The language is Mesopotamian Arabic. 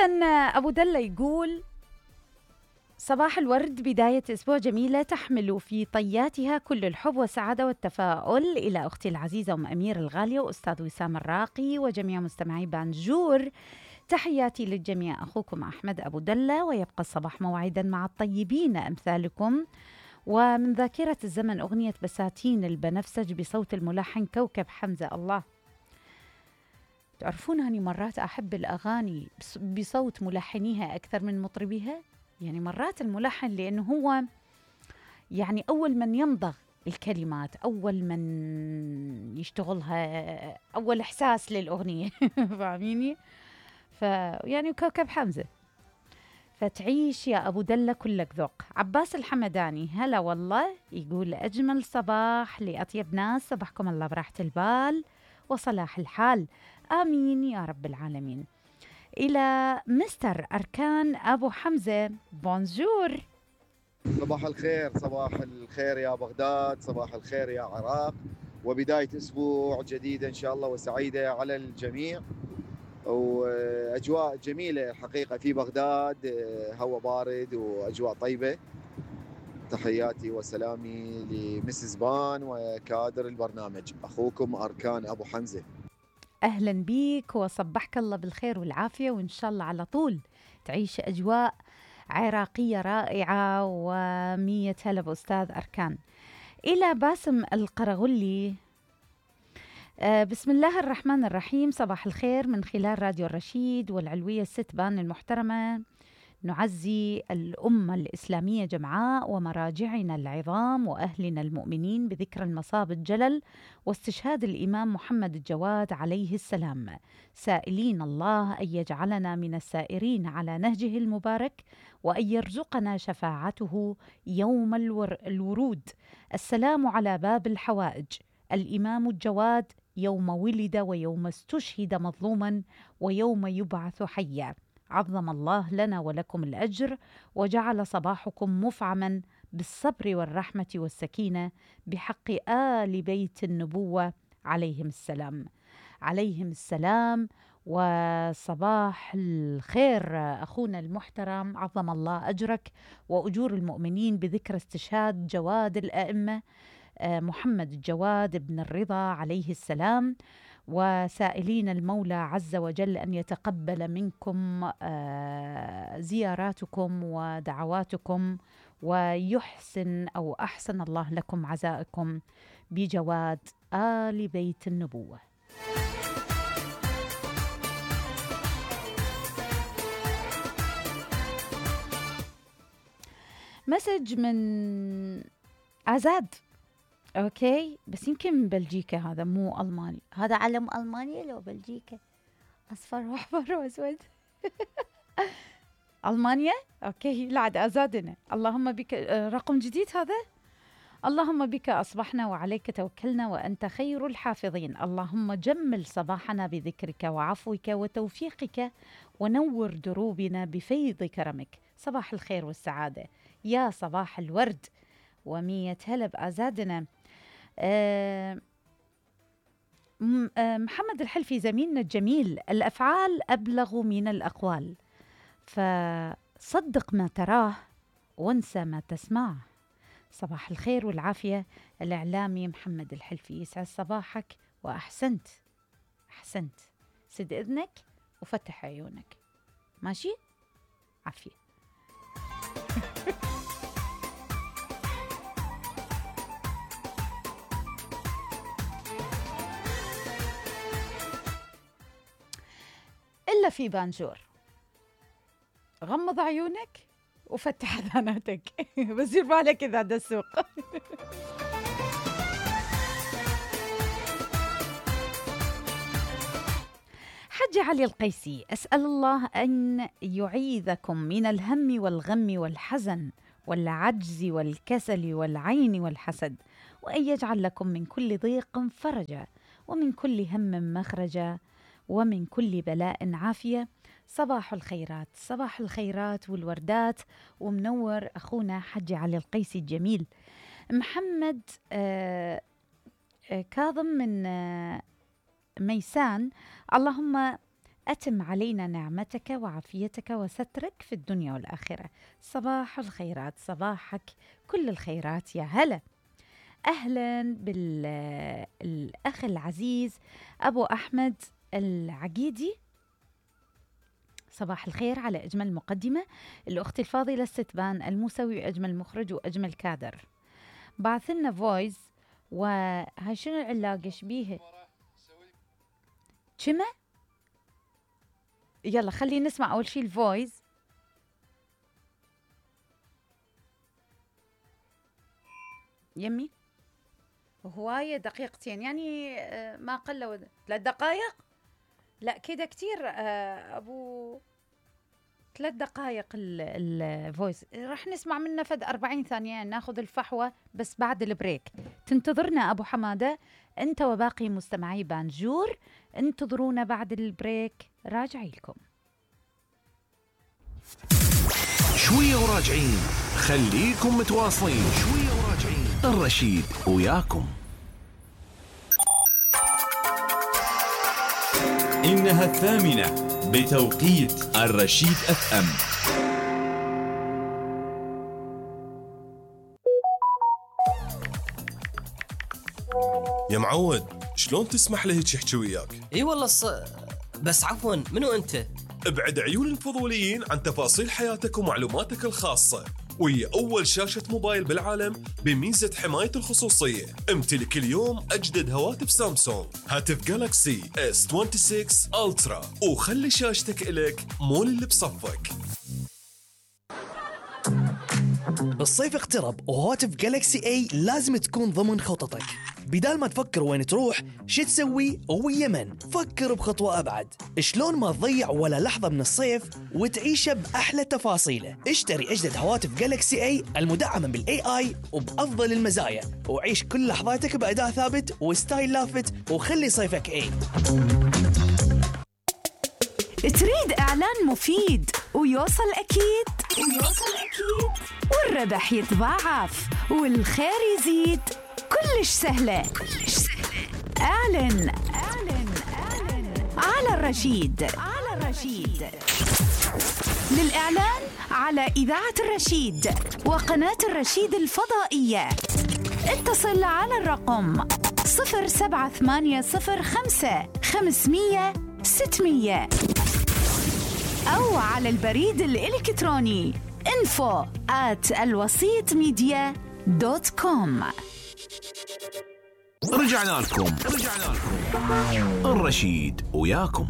إذن أبو دلة يقول: صباح الورد، بداية أسبوع جميلة تحمل في طياتها كل الحب والسعادة والتفاؤل إلى أختي العزيزة أم أمير الغالية وأستاذ وسام الراقي وجميع مستمعي بانجور. تحياتي للجميع، أخوكم أحمد أبو دلة، ويبقى الصباح موعدا مع الطيبين أمثالكم. ومن ذاكرة الزمن أغنية بساتين البنفسج بصوت الملحن كوكب حمزة. الله، تعرفون أني مرات أحب الأغاني بصوت ملحنيها أكثر من مطربيها. يعني مرات الملحن لأنه هو يعني أول من يمضغ الكلمات، أول من يشتغلها، أول إحساس للأغنية. فاهميني؟ يعني كوكب حمزة. فتعيش يا أبو دلة كلك ذوق. عباس الحمداني: هلا والله، يقول: أجمل صباح لأطيب ناس، صباحكم الله براحة البال وصلاح الحال، آمين يا رب العالمين. إلى مستر أركان أبو حمزة: بونجور. صباح الخير، صباح الخير يا بغداد، صباح الخير يا عراق، وبداية أسبوع جديدة إن شاء الله وسعيدة على الجميع، وأجواء جميلة الحقيقة في بغداد، هواء بارد وأجواء طيبة. تحياتي وسلامي لمسز بان وكادر البرنامج، أخوكم أركان أبو حمزة. أهلا بيك وصبحك الله بالخير والعافية، وإن شاء الله على طول تعيش أجواء عراقية رائعة. ومية هلا بأستاذ أركان. إلى باسم القرغلي: بسم الله الرحمن الرحيم، صباح الخير من خلال راديو الرشيد والعلوية الست بان المحترمة. نعزي الأمة الإسلامية جمعاء ومراجعنا العظام وأهلنا المؤمنين بذكرى المصاب الجلل واستشهاد الإمام محمد الجواد عليه السلام، سائلين الله أن يجعلنا من السائرين على نهجه المبارك وأن يرزقنا شفاعته يوم الورود. السلام على باب الحوائج، الإمام الجواد يوم ولد ويوم استشهد مظلوما ويوم يبعث حيا. عظم الله لنا ولكم الأجر، وجعل صباحكم مفعما بالصبر والرحمة والسكينة بحق آل بيت النبوة عليهم السلام. عليهم السلام. وصباح الخير أخونا المحترم، عظم الله أجرك وأجور المؤمنين بذكر استشهاد جواد الأئمة محمد الجواد بن الرضا عليه السلام، وسائلين المولى عز وجل أن يتقبل منكم زياراتكم ودعواتكم، ويحسن أو أحسن الله لكم عزائكم بجواد آل بيت النبوة. مسج من عزاد. اوكي، بس يمكن من بلجيكا، هذا مو الماني، هذا علم المانيا لو بلجيكا، اصفر واحمر واسود. المانيا. اوكي، لا عاد ازادنا. اللهم بك رقم جديد هذا. اللهم بك اصبحنا وعليك توكلنا وانت خير الحافظين. اللهم جمل صباحنا بذكرك وعفوك وتوفيقك ونور دروبنا بفيض كرمك. صباح الخير والسعاده، يا صباح الورد ومية هلا بازادنا. محمد الحلفي زميلنا الجميل: الأفعال أبلغ من الأقوال، فصدق ما تراه وانسى ما تسمعه. صباح الخير والعافية الإعلامي محمد الحلفي، يسعد صباحك وأحسنت. أحسنت، سد إذنك وفتح عيونك، ماشي؟ عافية. إلا في بانجور، غمض عيونك وفتح أذاناتك. بصير بالك إذا ده السوق. حج علي القيسي: أسأل الله أن يعيذكم من الهم والغم والحزن والعجز والكسل والعين والحسد، وأن يجعل لكم من كل ضيق فرجا ومن كل هم مخرجا ومن كل بلاء عافية. صباح الخيرات، صباح الخيرات والوردات، ومنور أخونا حج علي القيسي الجميل. محمد كاظم من ميسان: اللهم أتم علينا نعمتك وعافيتك وسترك في الدنيا والآخرة. صباح الخيرات، صباحك كل الخيرات. يا هلا، أهلا بالأخ العزيز أبو أحمد العقيدي. صباح الخير على أجمل مقدمة، الأخت الفاضلة الستبان الموسوي، أجمل مخرج وأجمل كادر. بعث لنا فويس، وهاي شنو العلاقة شبيها كما؟ يلا خلينا نسمع أول شي الفويس. يمي هواية دقيقتين يعني ما قل 3 دقائق. لا كده كتير أبو 3 دقائق الفويس. راح نسمع منه فد 40 ثانية، ناخذ الفحوى بس بعد البريك. تنتظرنا أبو حمادة أنت وباقي مستمعي بانجور، انتظرونا بعد البريك، راجعي لكم شوية وراجعين. خليكم متواصلين، شوية وراجعين. الرشيد وياكم. إنها 8 بتوقيت الرشيد FM. يا معود، شلون تسمح لي هيك يحكي وياك؟ اي والله بس عفوا، منو انت؟ ابعد عيون الفضوليين عن تفاصيل حياتك ومعلوماتك الخاصة، وهي أول شاشة موبايل بالعالم بميزة حماية الخصوصية. امتلك اليوم أجدد هواتف سامسونج، هاتف جالاكسي S26 ألترا، وخلي شاشتك إلك مو اللي بصفك. الصيف اقترب وهواتف جالاكسي اي لازم تكون ضمن خططك. بدال ما تفكر وين تروح شو تسوي ويا من، فكر بخطوة أبعد. شلون ما تضيع ولا لحظة من الصيف وتعيشه بأحلى تفاصيله. اشتري أجدد هواتف جالاكسي اي المدعمة بالاي اي وبأفضل المزايا، وعيش كل لحظاتك بأداء ثابت وستايل لافت، وخلي صيفك اي. تريد إعلان مفيد ويوصل أكيد والربح يتضاعف والخير يزيد، كلش سهلة. اعلن على الرشيد. للإعلان على إذاعة الرشيد وقناة الرشيد الفضائية اتصل على الرقم 07805 أو على البريد الإلكتروني info@alwasitmedia.com. رجعنا لكم. الرشيد وياكم.